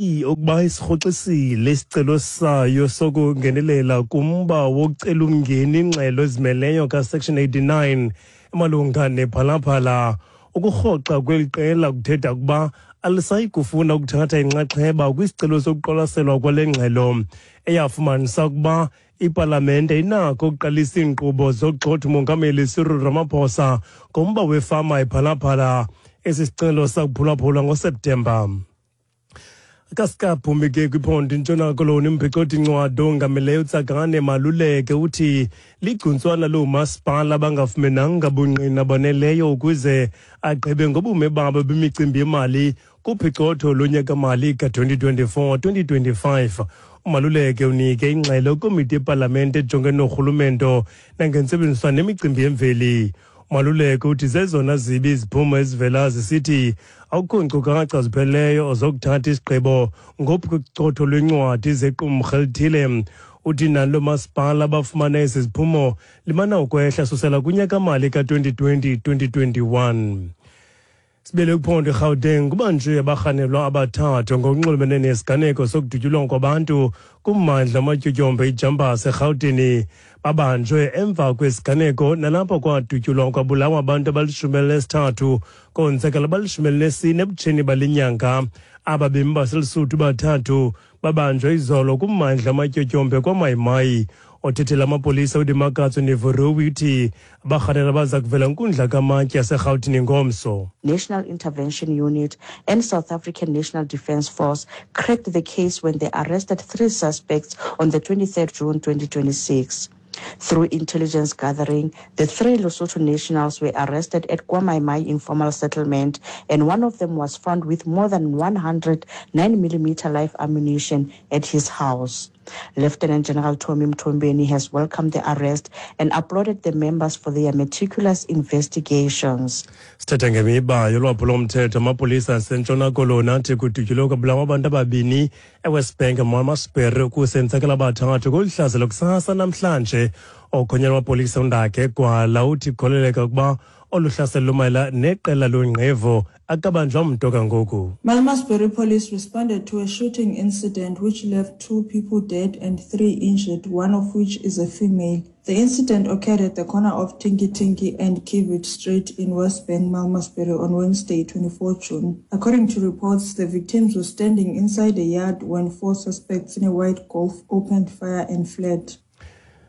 Ukuba isirhoxisile isicelo sayo sokungenelela kumba wokucela umngeni ingxelo ezimeleyo kaSection 89 emalunga nePhala Phala. Ukurhoxa kweli qela kuthetha ukuba alisayi kufuna ukuthatha inxaxheba kwisicelo sokuqwalaselwa kwale ngxelo, eyafumanisa ukuba ipalamente inakho ukuqalisa iinkqubo zokugxotha uMongameli Cyril Ramaphosa ngomba wefama iPhala Phala. Esi sicelo sakuphulaphulwa ngoSeptemba. Kasikaphumi ke kwiphondo iNtshona Koloni, umphicothi ncwadi ongameleyo uTsakane Maluleke uthi ligcuntswana loomasipala abangafumenanga bungqina baneleyo ukuze agqibe ngobume babo bemicimbi yemali kuphicotho lonyaka-mali ka-2024-2025. UMaluleke unike ingxelo komiti yepalamente ejongene norhulumento nangentsebenziswano nemicimbi yemveli. Maluleke uthi zezona zibi iziphumo ezivela zisithi akukho nkcukacha zipheleleyo zokuthatha isigqibo ngophicotho lwencwadi zequmrhu elithile. Uthi nalo masipala abafumana ezi ziphumo limana ukwehla susela kunyaka-mali ka-2020-2021. Sibele kuphondo iGauteng, kubanjwe abarhanelwa abathathu ngokunxulumene nesiganeko sokudutyulwa kwabantu kummandla amatyotyombe iJumpers eRhawutini. Babanjwe emva kwesiganeko nalapho kwadutyulwa kwabulawa abantu abali-13, konzakala abali-14 ebutsheni bale nyanga. Aba bemi baseLisuthu bathathu babanjwe izolo kummandla amatyotyombe kwaMayimayi. Othethela amapolisa uDimakatso Nevoruwi uthi abarhanelwa baza kuvela nkundla kamantyi yaseRhawutini ngomso. National Intervention Unit and South African National Defence Force cracked the case when they arrested three suspects on the 23rd June 2026. Through intelligence gathering, the three Lesotho nationals were arrested at KwaMai informal settlement, and one of them was found with more than 100 9mm live ammunition at his house. Lieutenant General Tommy Mthombeni has welcomed the arrest and applauded the members for their meticulous investigations. Sithetha ngemiba yolwaphulomthetho, amapolisa aseNtshona Koloni athi kudutyulwe kwabulawa abantu ababini eWest Bank Malmesbury, kusenzakala abathathu kolu hlaselo kusasa namhlanje. Okhonyela amapolisa uNdakhe Gwala uthi kukholeleka ukuba olu hlaselo lumayela neqela longqevu. Akabanjwa mntu kangoku. Malmesbury police responded to a shooting incident which left two people dead and three injured, one of which is a female. The incident occurred at the corner of Tinky Tinky and Kivit Street in West Bank, Malmesbury on Wednesday, 24 June. According to reports, the victims were standing inside a yard when four suspects in a white Golf opened fire and fled.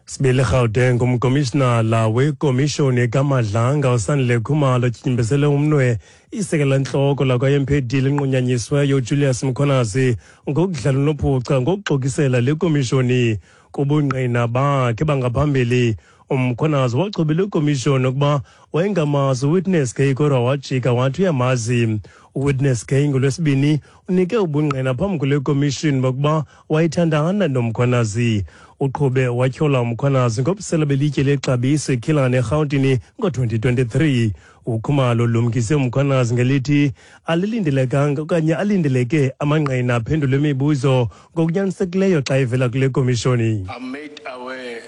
Sibili Gauteng, umkomishinala wekomishoni kaMadlanga uSandile Khumalo tyinyimbezele umnwe isekela ntloko lakwa-MPD linqunyanyisweyo uJulius Mkhwanazi ngokudlala unophuca ngokuxokisela le komishoni. Kubungqina bakhe bangaphambili, uMkhwanazi wachubile ikomishoni ukuba wayengamazi uWitness K, kodwa wajika wathi uyamazi uWitness K. NgoLwesibini unike ubungqina phambi kule komishoni bokuba wayethandana noMkhwanazi. Uqhube watyhola uMkhwanazi ngobusela belitye lexabiso eKillarney eRhawutini ngo-2023. UKhumalo lumkise uMkhwanazi ngelithi alilindelekanga okanye alindeleke amangqina aphendule imibuzo ngokunyanisekileyo xa evela kule komishoni. I'm made aware,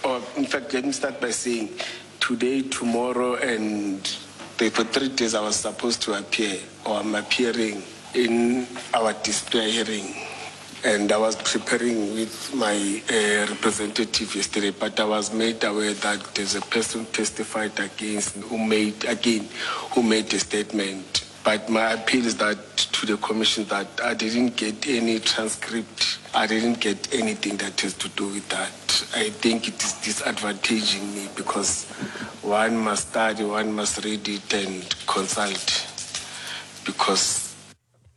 or in fact, let me start by saying today, tomorrow, and for 3 days I was supposed to appear, or I'm appearing in our disciplinary hearing. And I was preparing with my representative yesterday, but I was made aware that there's a person testified against who made again, who made a statement. But my appeal is that to the commission that I didn't get any transcript. I didn't get anything that has to do with that. I think it is disadvantaging me because one must study, one must read it and consult because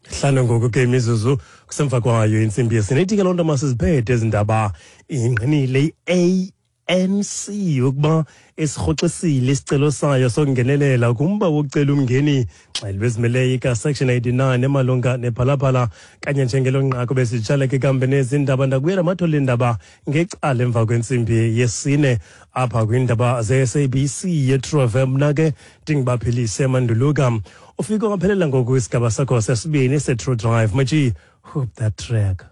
5 ngoku ke imizuzu kusemva kwayo intsimbi yesine. Ithi ke loo nto masiziphethe ezi ndaba. Ingqinile i-ANC ukuba isirhoxisile isicelo sayo sokungenelela kumba wokucela umngeni ngxelo bezimeleyo ikaSection 89 emalunga nePhala Phala. Kanye njengelo nqaku besitshala ke kambe nezi ndaba, ndakubuyela amathole indaba ngecala emva kwentsimbi yesine apha kwiindaba ze-SABC yeTru FM. Mna ke ndinguBaphilise Manduluka. Ufike waphelela ngoku isigaba sakho sesibini se-True Drive. Machi, hope that track.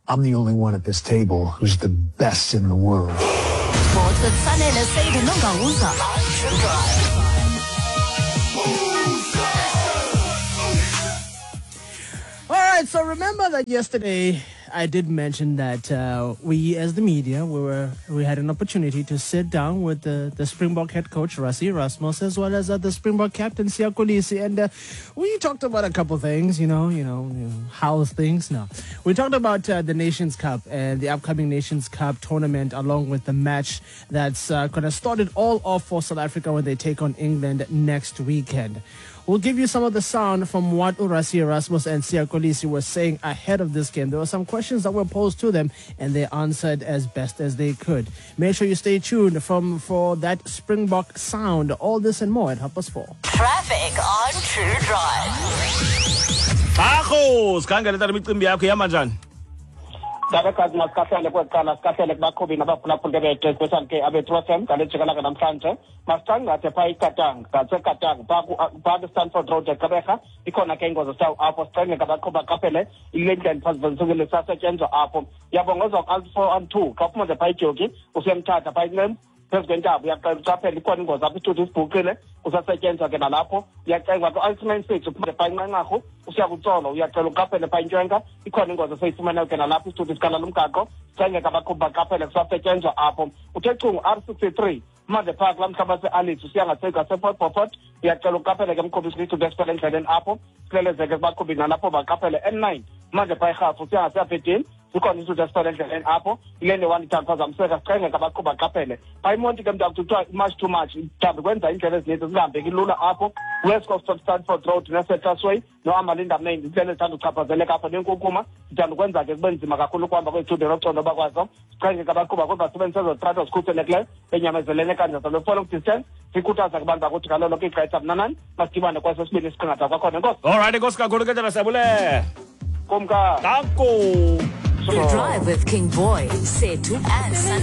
I'm the only one at this table who's the best in the world. Sports with Sanele Said Nongauza. True Drive. All right. right, so remember that yesterday I did mention that we as the media, we had an opportunity to sit down with the Springbok head coach, Rassie Erasmus, as well as the Springbok captain, Siya Kolisi, and we talked about a couple things, you know, how's things now. We talked about the Nations Cup and the upcoming Nations Cup tournament, along with the match that's going to start it all off for South Africa when they take on England next weekend. We'll give you some of the sound from what Rassie Erasmus and Siya Kolisi were saying ahead of this game. There were some questions that were posed to them, and they answered as best as they could. Make sure you stay tuned for that Springbok sound. All this and more at 4:30. Traffic on True Drive. Akho, sikhangele tata imicimbi yakho ihamba njani? Ndabekazi masikahlele kweqala sikahlele kubaqhubi nabaphulaphuli bethu especially ke abethu FM ngale jikalanga namhlanje. Masitangathe phaa iKatanga, ngaseKatanga phaa kwiStanford Road eGqeberha ikhona ke ingozi sawo apho sicenge ngabaqhubi baqaphele ile ndlela phazivenzisukile sasetyenzwa apho. Uyabongozwa ku-R4 xa uphuma nje phaa iJoki usiyamthatha phaa iNcembu phezu kwentaba uyacela uqaphele ikhona ingozi apho isithuthi sibhuqile kusasetyenzwa ke nalapho. Uyacengwa ku-R96 uphuma phaa iNqanqarhu usiya kuTsolo uyacela uqaphele phaa iNtshwenka ikhona ingozi eseyifumeneyo ke nalapho isithuthi sikhala lomgaqo sicenge ngabaqhubi baqaphele kusasetyenzwa apho. Uthe chungu R63 manje phaa kulaa mhlaba seAlice usiya ngasePort Beaufort uyacela uqaphele ke mqhubi isithuthi esiphela endleleni apho silelezeke kubaqhubi nalapho baqaphele. N9 manje phaa iRhafu usiya ngaseAberdeen zikhona isithuthi esiphela endleleni apho ilene one ithanda phazamiseka sicenge ngabaqhubi baqaphele. Phaa iMonti ke mntu kuthiwa much too much mhlawumbi kwenza iindlela ezininzi zingahambeki lula apho West Coast of Stanford Road neSettlers noAmalinda Main iindlela ezithanda uchaphazeleka apho nenkunkuma zithanda ukwenza ke kube nzima kakhulu ukuhamba kwezithuthi nocondo bakwazo. Sicenge ngabaqhuba kodwa basebenzise ezo trato zikhuselekileyo benyamezelene kanjalo lo distance sikhuthaza kubantu bakuthi ngalo lonke ixesha mnanani masidibane kwesesibini isiqingatha kwakhona. Enkosi. All right, enkosi kakhulu ke tata, siyabulela. Kumka. Danko. You drive with King Boy, Sethu and Sanele.